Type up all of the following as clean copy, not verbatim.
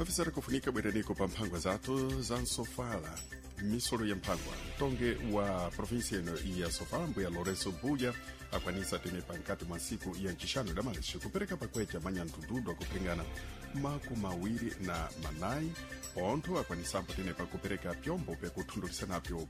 Afisara kufunika bwereniko pa mphangwa zathu za nsofala, misolo ya mphangwa. Mtonge wa provinsia ino ya Sofala, mbuya Lourenço Buya, akwanisa tenepa nkati mwa ntsiku ya ncixanu damalexi kupereka pakwecha manyandududu akupiringana 24, pontho akwanisambo tenepa kupereka pyombo pyakuthundulisa napyo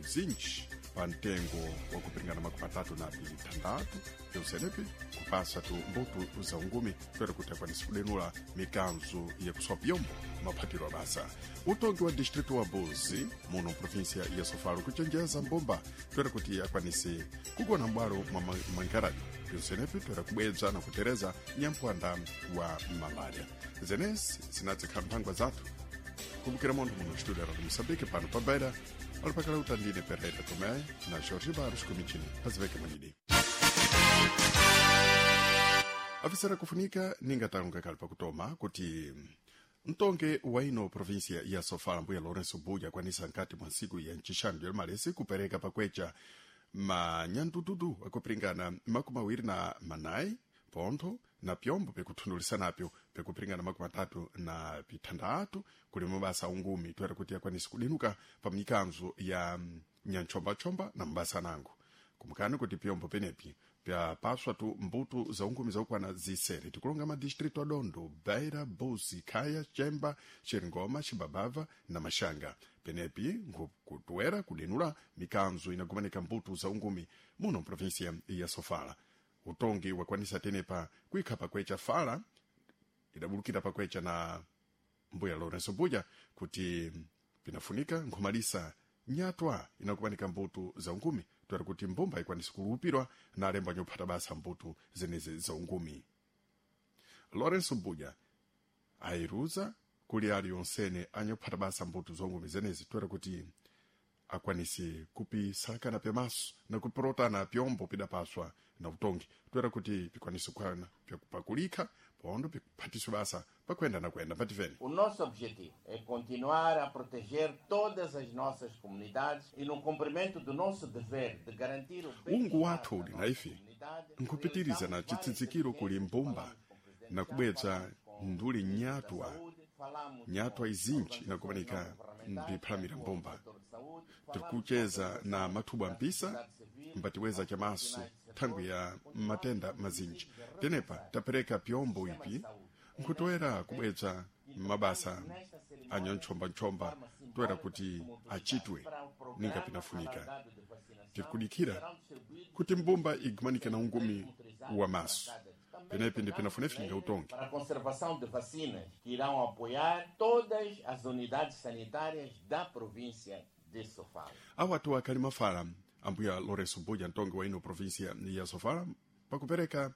bzinji pa mtengo wa kupiringana 36, pyonsenepi kupasa tu mbuto za ungumi toera kuti akwanise kudenula mikanzo yakuswa pyombo maphatiro abasa. Utongi wa distrito wa Buzi muno provinsia ya Sofala kuchenjeza mbumba toera kuti akwanise kugona m'bwalo mwa mankaradi, pyonsenepi toera kubwebza na kutereza nyampwanda wa malaria. Zenezi zinadzikhala mphangwa zathu kumbukira montho muno studio ra Moçambique pano pa Beira alipakala utandine Pereira Tomé na Jorge Barros kumichini paziveke manidi. Afisara kufunika ningatalonga kali pakutoma kuti mtonge wa ino provinsia ya Sofala, mbuya Lourenço Buya, akwanisa nkati mwa ntsiku ya ncixanu ya malesi kupereka pakwecha manyandududu akupiringana 24, pontho na pyombo pikuthundulisa napyo pikupiringana 36 kuli mabasa ungumi toera kuti akwanise kudinuka pa mikanzo ya nyanchomba-chomba na mabasa anango. Kumukani kuti pyombo penepi pyapaswa tu mbuto za ungumi zakukwana zisere. Tikulonga madistrito adondo, Beira, Buzi, Khaya, Chemba, Xeringoma, Xibabava na Maxanga. Penepi nkutoera kudenula mikanzo inagumanika mbuto za ungumi muno mprovinsia ya Sofala. Utongi wakwanisa tenepa kuikha pakwecha fala idabulukira pakwecha na mbuya Lourenço Buya kuti pinafunika nkhumalisa nyatwa inakupanika mbuto za ungumi toera kuti mbumba ikwanise kulupirwa na alembo anyophata basa mbuto zenezi za ungumi. Lourenço Buya ayiruza kuli aliyonsene anyophata basa mbuto za ungumi zenezi toera kuti akwanise kupisakana pyamaso na kupirotana pyombo pidapaswa na utongi toera kuti pikwanise kukwana pyakupakulika pondo pikuphatiswe basa pakuenda na kuenda pativene. O nosso objetivo é continuar a proteger todas as nossas comunidades e no cumprimento do nosso dever de garantir o Ungu bem-estar wathu da uli nossa na ife comunidade, nkupitiriza na realizamos várias chitsitsikiro kuli diligências, mbumba falamos com o presidente na já, kubwebza falamos com o nduli ministro da nyatwa Saúde, falamos nyatwa com izinji organizações inakumanika não governamentais que mpiphalamira atuam no mbumba. setor de saúde, falamos com Tikucheza na organizações mathubwa da mpisa sociedade civil, mbatiweza aos chamaso profissionais do thangwi setor, ya continuamos matenda com mazinji. pedidos de Tenepa reforçar tapereka o pyombo sistema de ipi saúde. É neste nkutoera contexto kubwebza que mabasa tocamos nesta cerimônia anyanchombanchomba de forma toera simbólica kuti como autoridade achitwe para o ninga programa pinafunika. alargado de vacinação Tirikudikira serão distribuídos kuti mbumba igumanike na 103 ungumi motorizados wa para maso. cada. Também Penepi ndi tocamos pinafunefinga leiras utongi. para a conservação de vacinas que irão apoiar todas as unidades sanitárias da província de Sofala. Awatu akhali mafala ambuya Lourenço Buya, mtongi wa ino provinsia ya Sofala, pakupereka